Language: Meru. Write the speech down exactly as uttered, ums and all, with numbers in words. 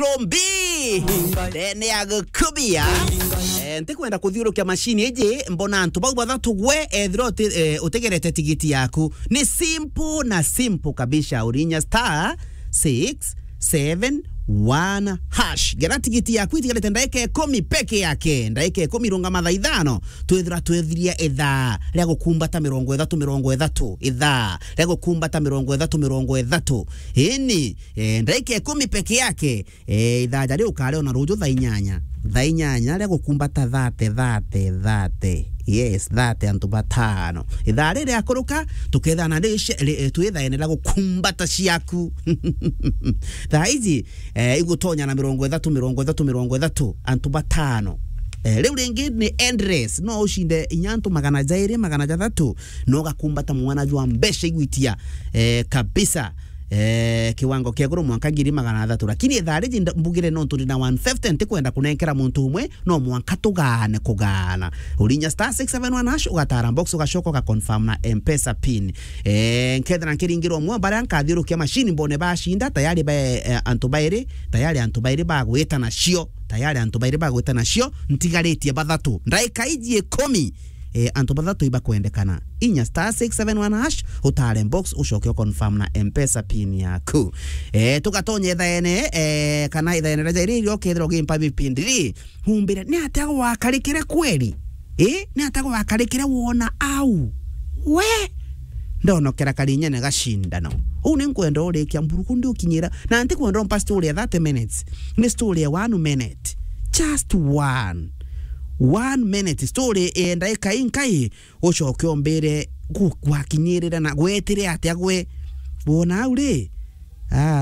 Plombi. Ndene ya gukubia. Eh, ntikwenda kuthiurukia machine iji, mbona antu bau bathatu gwe, ethira uti-, eh, utegerete tigiti yaku. Ni simple na simple kabisa. Urinya star six seven one hash. Gera tigiti yaku itigarite ndaika ikumi peke yake. Ndaika ikumi rungama thaa ithano. Twithira twethiria ithaa ria gukumbata mirongo ithatu, mirongo ithatu. Ithaa ria gukumbata mirongo ithatu, mirongo ithatu. Ini, eh, ndaika ikumi peke yake. Eh, ithaa ja riu ukariona ruju thaa inyanya. Thaa inyanya ria gukumbata thate, thate, thate. Yes, thate antu batano. Ithaa riri riakuruka, tukethana ri-, ri-, eh, twi thaene ria gukumbata ciaku. Thaa iji, eh, igutonya na mirongo ithatu, mirongo ithatu, mirongo ithatu, antu batano. Eh, riu ringi ni endless. No ucinde inya antu magana jairi, magana jathatu, no ugakumbata mwana jwa mbeca igwitia, eh, kabisa. Eh, kiwango kia iguru mwanka ngiri magana athatu. Lakini ithaa riji nda-, mbugire nontu ndi na one fifty, ntikwenda kunenkera muntu umwe, no mwanka tugaane kugaana. Urinya star six seven one hash, ugatara box, ugacoka ugaconfirm na M-Pesa pin. Eh, nkethira nkiringirwa umwe, baria nkathiurukia machine mbone bacinda, tayari ba, eh, antu bairi, tayari antu bairi bagwita nacio, tayari antu bairi bagwita nacio, ntigaritie bathatu. Ndaika iji ikumi, eh, antu bathatu ibakwendekana. Inya star six seven one hash, utare box, ucoke uconfirm na M-Pesa pin yaku. Eh, tugatonye thaene, eh, kana ithaene ria jairi irio kethira ugimpa bipindi ri, humbire, ni atia gwakarikire kweri? Eh, ni atia gwakarikire wona au? We! Ndonokera karinyene gacindano. Uu ni nkwenda urikia mburuku ndi ukinyira. Na ntikwenda umpa story ya thirty minutes. Ni story ya one minute. Just one. One minute. Story ya ndaika inkai, ucoke umbire gu-, gwakinyirire na gwetire atia gwe. Wona au ri? Ah.